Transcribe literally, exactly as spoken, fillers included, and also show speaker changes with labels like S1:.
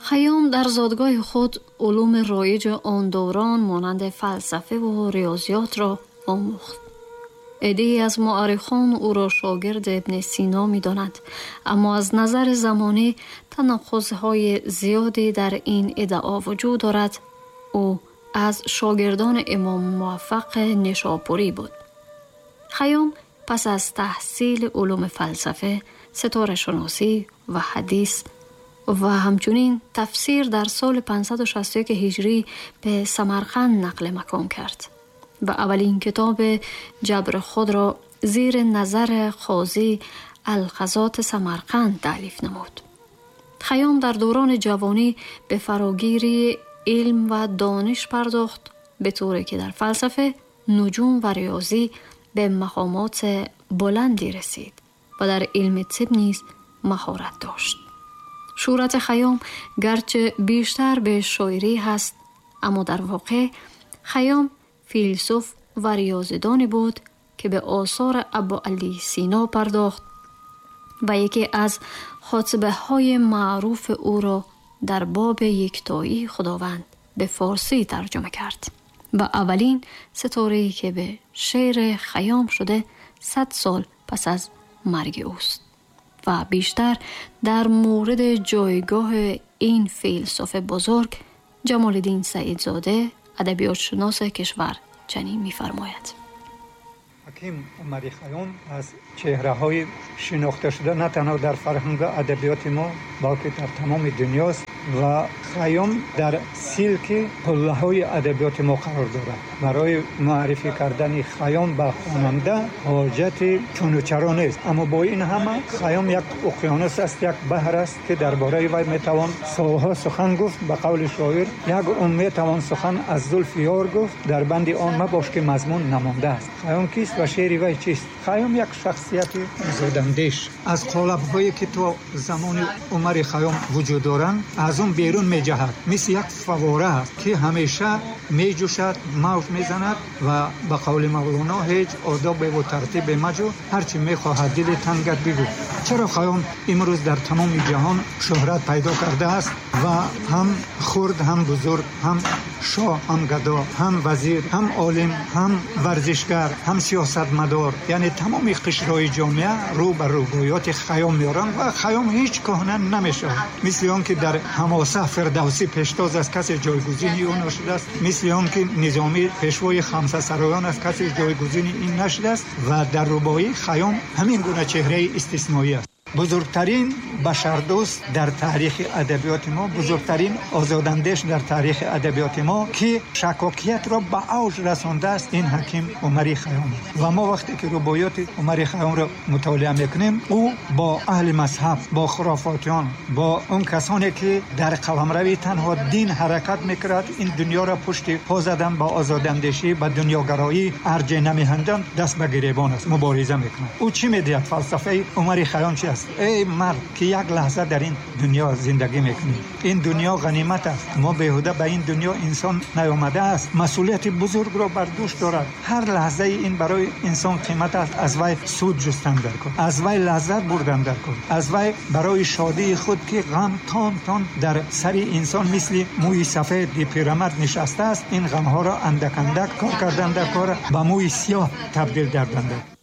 S1: Хайём дар зодгоҳи худ улуми роиҷи он даврон монанди фалсафа ва риёзиётро омӯхт. عده‌ای از مؤرخان او را شاگرد ابن سینا می‌دانند، اما از نظر زمانی تناقض‌های زیادی در این ادعا وجود دارد. او از شاگردان امام موفق نشاپوری بود. خیام پس از تحصیل علوم فلسفه، ستاره شناسی و حدیث و همچنین تفسیر در سال پانصد و شصت و یک هجری به سمرقند نقل مکان کرد و اولین کتاب جبر خود را زیر نظر قاضی القضات سمرقند تألیف نمود. خیام در دوران جوانی به فراگیری علم و دانش پرداخت، به طوری که در فلسفه، نجوم و ریاضی به مقامات بلندی رسید و در علم طب نیز مهارت داشت. شهرت خیام گرچه بیشتر به شاعری هست، اما در واقع خیام فیلسوف و ریاضیدانی بود که به آثار ابو علی سینا پرداخت و یکی از خطبه های معروف او را در باب یکتایی خداوند به فارسی ترجمه کرد و اولین ستاره‌ای که به شعر خیام شده صد سال پس از مرگ اوست و بیشتر در مورد جایگاه این فیلسوف بزرگ جمال الدین سعیدزاده، ادبیات شناس کشور، چنین می‌فرماید:
S2: حکیم عمر خیام از چهره‌های شناخته شده نه تنها در فرهنگ ادبیات ما بلکه در تمام دنیاست و خیام در سلک قله‌های ادبیات ما قرار دارد. برای معرفی کردن خیام به خواننده حاجت چون و چرا نیست، اما با این همه خیام یک اقیانوس است، یک بحر است که درباره وی میتوان سالها سخن گفت. به قول شاعر یک عمر میتوان سخن از زلف یار گفت، در بند آن مباش که مضمون نمانده است. خیام کیست و شعر وی چیست؟ خیام یک شخصیت آزاداندیش از قالب‌هایی که تا زمان عمر خیام وجود دارند از اون بیرون میجهد، مثل یک فواره است که همیشه میجوشد، موج میزند و به قول مولانا هیچ آداب و ترتیب مجو، هرچی میخواهد دل تنگت بگو. چرا خیام امروز در تمام جهان شهرت پیدا کرده است و هم خرد هم بزرگ، هم شاه هم گدا، هم وزیر هم عالم، هم ورزشکار، هم سیاستمدار، یعنی تمام قشرهای جامعه رو بر روایات خیام میارن و خیام هیچ کهنه نمیشه. مثل آن که در حماسه فردوسی پیشتاز از کسی جایگزینی او نشده است، مثل آن که نظامی پیشوای خمسه سرایان از کسی جایگزینی این نشده است و در رباعی خیام همین گونه چهره استثنایی است. بزرگترین بشردوست در تاریخ ادبیات ما، بزرگترین آزاداندیش در تاریخ ادبیات ما که شکاکیت را به اوج رسانده است، این حکیم عمر خیام. و ما وقتی که رباعیات عمر خیام را مطالعه میکنیم، او با اهل مذهب، با خرافاتیان، با اون کسانی که در قلمرو تنها دین حرکت میکرد، این دنیا را پشت پا زدن، با آزاداندیشی، با دنیاگرایی ارج نمیهندن، دست به گریبان است، مبارزه میکنه. او چی میدهد؟ فلسفه عمر خیام چی است؟ ای مرد که یک لحظه در این دنیا زندگی میکنی، این دنیا غنیمت است، ما بیهوده به این دنیا انسان نیامده است، مسئولیت بزرگ را بر دوش دارد. هر لحظه این برای انسان قیمت است، از وی سود جستن در کن، از وی لذت بردن در کن، از وی برای شادی خود که غم تان تان در سر انسان مثل موی سفید پیرمرد نشسته است، این غمها را اندک اندک کار کردن در کار به موی سیاه تبدیل کردن.